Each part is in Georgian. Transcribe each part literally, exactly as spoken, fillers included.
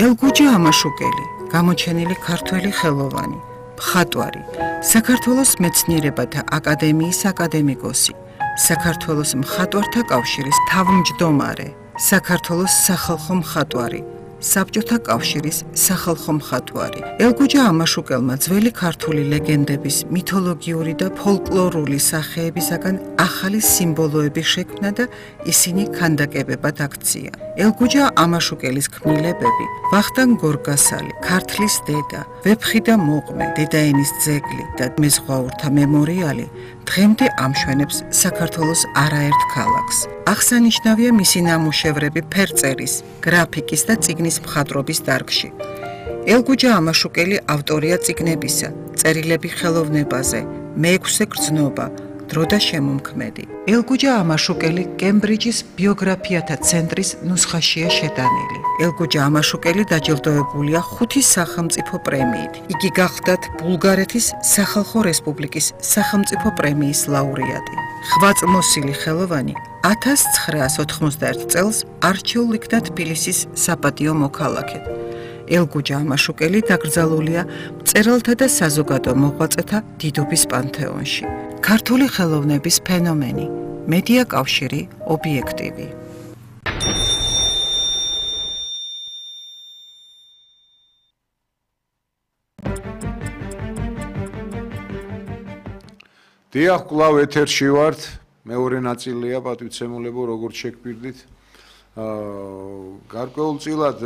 ელგუჯა ამაშუკელი, გამოჩენილი ქართველი ხელოვანი, მხატვარი, საქართველოს მეცნიერებათა აკადემიის აკადემიკოსი, საქართველოს მხატვართა კავშირის თავმჯდომარე, საქართველოს სახალხო მხატვარი, საბჭოთა კავშირის სახალხო მხატვარი. ელგუჯა ამაშუკელმა ძველი ქართული ლეგენდების, მითოლოგიური და ფოლკლორული სახეებისაგან ახალი სიმბოლოები შექმნა და ისინი ქანდაკებებად აქცია. ელგუჯა ამაშუკელის ქმნილებები, ვახტანგ გორგასალი, ქართლის დედა, ვეფხი და მოყმე, დედაენის ძეგლი და მეზღვაურთა მემორიალი დღემდე ამშვენებს საქართველოს არაერთ ქალაქს. აღსანიშნავია მისი ნამუშევრები ფერწერის, გრაფიკის და წიგნის მხატვრობის დარგში. ელგუჯა ამაშუკელი ავტორია წიგნებისა, წერილები ხელოვნებაზე, მეექვსე გრძნობა, დრო და შემომქმედი. ელგუჯა ამაშუკელი კემბრიჯის ბიოგრაფიათა ცენტრის ნუსხაშია შეტანილი. ელგუჯა ამაშუკელი დაჯილდოებულია ხუთი სახელმწიფო პრემიით. იგი გახლდათ ბულგარეთის სახალხო რესპუბლიკის სახელმწიფო პრემიის ლაურეატი. ხვაწლმოსილი ხელოვანი ათას ცხრაას ოთხმოცდაერთ წელს არჩეულ იქნა თბილისის საპატიო მოქალაქედ. ელგუჯა ამაშუკელი დაკრძალულია მწერალთა და საზოგადო მოღვაწეთა დიდობის პანთეონში. ქართული ხელოვნების ფენომენი, მედია კავშირი, ობიექტივი. დიახ, კვლავ ეთერში ვართ, მეორე ნაწილია პატივცემულებო, როგორც შეგბირდით. გარკვეულწილად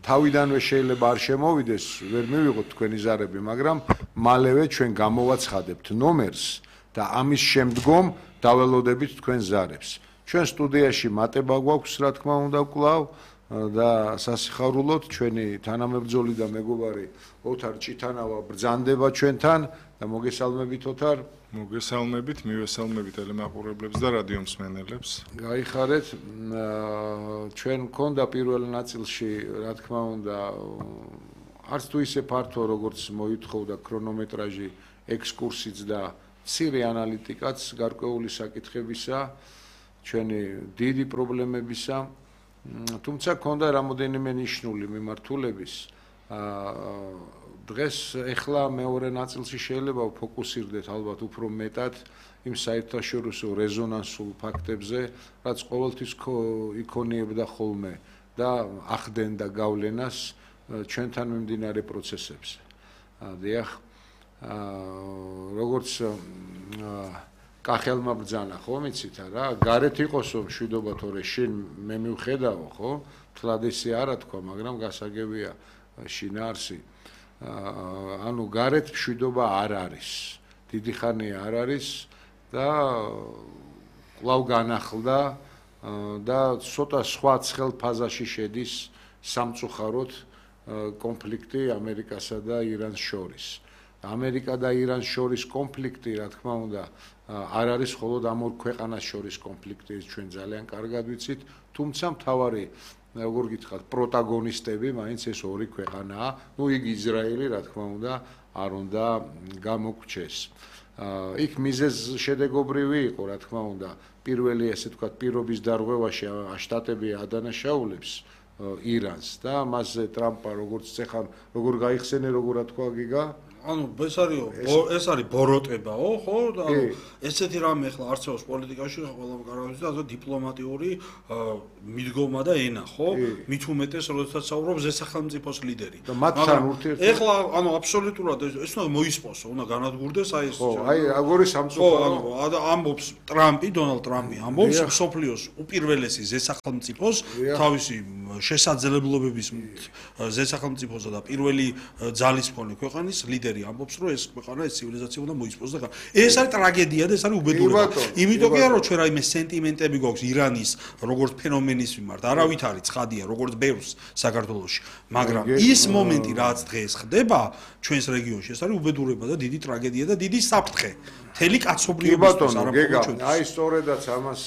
თავიდანვე შეიძლება არ შემოვიდეს, ვერ მივიღოთ თქვენი ზარები, მაგრამ მალევე ჩვენ გამოვაცხადებთ ნომერს და ამის შემდგომ დაველოდებით თქვენ ზარებს. ჩვენ სტუდიაში მატება გვაქვს, რა თქმა უნდა, კვლავ და სასიხარულოდ ჩვენი თანამებრძოლი და მეგობარი ოთარ ჭიტანავა ბრძანდება ჩვენთან და მოგესალმებით ოთარ. მოგესალმებით, მივესალმებით ტელემაყურებლებს და რადიო მსმენელებს. გაიხარეთ, ჩვენ გქონდა პირველ ნაწილში, რა თქმა უნდა, არც თუ ისე ფართო, როგორც მოითხოვდა ქრონომეტრაჟი, ექსკურსიც და მცირე ანალიტიკაც გარკვეული საკითხებისა, ჩვენი დიდი პრობლემებისა, თუმცა გქონდა რამოდენიმე ნიშნული მიმართულების. დღეს ეხლა მეორე ნაწილში შეიძლება ვფოკუსირდეთ ალბათ უფრო მეტად იმ საერთაშორისო რეზონანსულ ფაქტებზე, რაც ყოველთვის იქონიებდა ხოლმე და ახდენდა გავლენას ჩვენთან მიმდინარე პროცესებზე. დიახ, როგორც კახელმა ბრძანა, ხო, მიცით რა, გარეთ იყოსო მშვიდობა, თორე შინ მე მივხედავო, ხო? თლად ისე არა თქვა, მაგრამ გასაგებია შინაარსი. ანუ გარეთ მშვიდობა არ არის, დიდი ხანია არ არის და კვლავ განახლდა და ცოტა სხვა ცხელ ფაზაში შედის სამწუხაროდ კონფლიქტი ამერიკასა და ირანს შორის. ამერიკა და ირანს შორის კონფლიქტი, რა თქმა უნდა, არ არის მხოლოდ ამ ორ ქვეყანას შორის კონფლიქტი, ჩვენ ძალიან კარგად ვიცით, თუმცა მთავარი როგორ გითხრათ, პროტაგონისტები მაინც ეს ორი ქვეყანაა, ну იგი ისრაელი, რა თქმა უნდა, არ უნდა გამოგვჩეს. იქ მიზეზ შედეგობრივი იყო, რა თქმა უნდა, პირველი ესე ვთქვათ, პირობის დარღვევაში შტატები ადანაშაულებს ირანს და მასზე ტრამპა როგორც წეხან, როგორ გაიხსენე, როგორ რა თქვა გიგა? ანუ ეს არის ეს არის ბოროტებაო, ხო? და ესეთი რამე ახლა არსებობს პოლიტიკაში, ყველა კარგავს და დიპლომატიური მიდგომა და ენა, ხო? მით უმეტეს, როდესაც საუბრობს ზესახელმწიფოს ლიდერი. და მათთან ურთიერთობა. ეხლა ანუ აბსოლუტურად ეს უნდა მოისპოსო, უნდა განადგურდეს აი ეს. ხო, აი აგორი სამწუხარო. ხო, ანუ ამბობს ტრამპი, დონალდ ტრამპი ამბობს სოფლიოს უპირველესი ზესახელმწიფოს თავისი შესაძლებლობების ზესახელმწიფოსა და პირველი ძალის მქონე ქვეყანის ლიდერი ამბობს, რომ ეს ქვეყანა ეს ცივილიზაცია უნდა მოისპოს და ეს არის ტრაგედია და ეს არის უბედურება. იმიტომ კი არა, რომ ჩვენ რაიმე სენტიმენტები გვაქვს ირანის როგორც ფენომენის მიმართ, არავით არის ცხადია, როგორც ბევრს საქართველოში, მაგრამ ის მომენტი, რაც დღეს ხდება ჩვენს რეგიონში, ეს არის უბედურება და დიდი ტრაგედია და დიდი საფრთხე. მთელი კაცობრიობისთვის არა მხოლოდ ჩვენთვის. აი სწორედაც ამას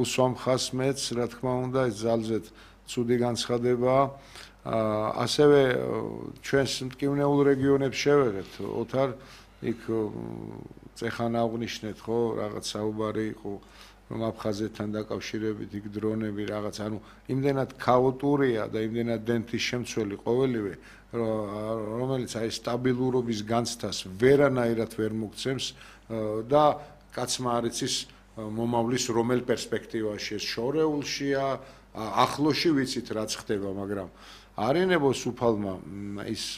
უსვამ ხას მეც, რა თქმა უნდა, ეს ძალზედ ცუდი განცხადებაა. ასევე ჩვენს მტკივნეულ რეგიონებს შევეღებთ, ოთარ იქ წეხან აღნიშნეთ, ხო, რაღაც საუბარი იყო რომ აფხაზეთთან დაკავშირებით იქ დრონები რაღაც, ანუ იმდენად ქაოტურია და იმდენად დენთის შემცველი ყოველივე, რომელიც აი სტაბილურობის განცდას ვერანაირად ვერ მოგცემს და კაცმა არ იცის მომავლის რომელ პერსპექტივაში ეს შორეულშია, ახლოში ვიცით რაც ხდება, მაგრამ არინებოს უფალმა ის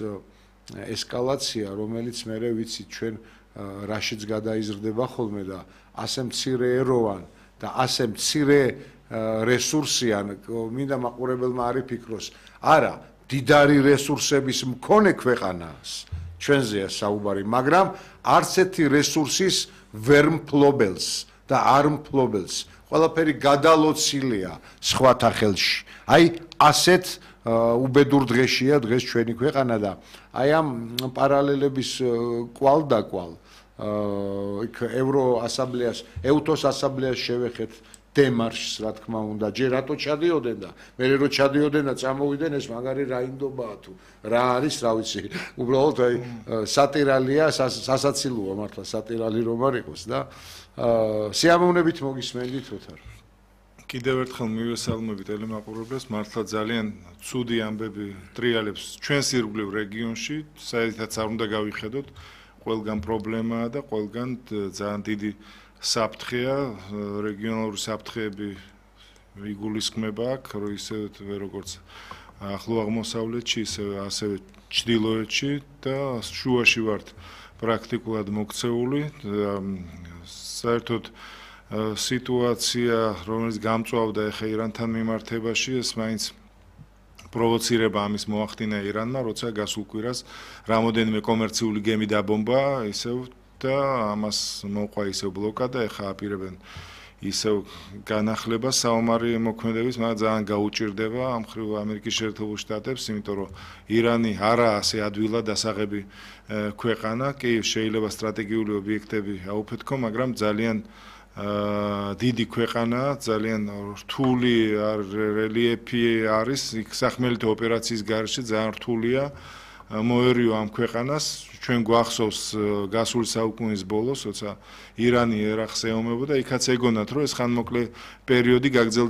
ესკალაცია, რომელიც მე ვიცით ჩვენ რაშიც გადაიზრდება ხოლმე და ასე მცირე ეროვან და ასე მცირე რესურსიან, მინდა მაყურებელმა არ იფიქროს, არა, დიდარი რესურსების მქონე ქვეყანას ჩვენზეა საუბარი, მაგრამ არც ერთი რესურსის ვერ მფლობელს და არ მფლობელს. ყველაფერი გადალოცილია სხვათა ხელში. აი ასეთ უბედურ დღეშია დღეს ჩვენი ქვეყანა და აი ამ პარალელების კვალ და კვალ იქ ევროასამბლეას, ეუთოს ასამბლეას შევეხეთ დემარშს, რა თქმა უნდა, ჯერ რატო ჩადიოდნენ და მე რო ჩადიოდნენ და წამოვიდნენ ეს მაგარი რა ინდობაა თუ რა არის, რა ვიცი, უბრალოდ აი სატირალია, სასაცილოა მართლა სატირალი რომ არ იყოს და სიამოვნებით მოგისმენდით ოთარ. კიდევ ერთხელ მივესალმები ტელემაყურებლებს, მართლა ძალიან ცუდი ამბები ტრიალებს ჩვენს ირგვლივ რეგიონში, საერთოდ არ უნდა გავიხედოთ, ყველგან პრობლემაა და ყველგან ძალიან დიდი საფრთხეა, რეგიონალური საფრთხეები იგულისხმება აქ, რომ ისე როგორც ახლო აღმოსავლეთში, ისე ასევე ჩრდილოეთში და შუაში ვართ პრაქტიკულად მოქცეული. საერთოდ სიტუაცია, რომელიც გამწვავდა ახლა ირანთან მიმართებაში, ეს მაინც პროვოცირება ამის მოახდინა ირანმა, როცა გასულ კვირას რამოდენიმე კომერციული გემი დაბომბა, ისევ და ამას მოყვა ისევ ბლოკადა, ახლა აპირებენ ისევ განახლება საომარი მოქმედების, მაგრამ ძალიან გაუჭირდება ამ მხრივ ამერიკის შეერთებულ შტატებს, იმიტომ რომ ირანი არაა ასე ადვილად დასაღები ქვეყანა, კი შეიძლება სტრატეგიული ობიექტები აუფეთქო, მაგრამ ძალიან დიდი ქვეყანა, ძალიან რთული რელიეფი არის, იქ სახმელეთო ოპერაციის გარეშე ძალიან რთულია მოერიო ამ ქვეყანას. ჩვენ გვახსოვს გასული საუკუნის ბოლოს, როცა ირანი ერახს ეომებოდა, იქაც ეგონათ, რომ ეს ხანმოკლე პერიოდი გაგრძელდება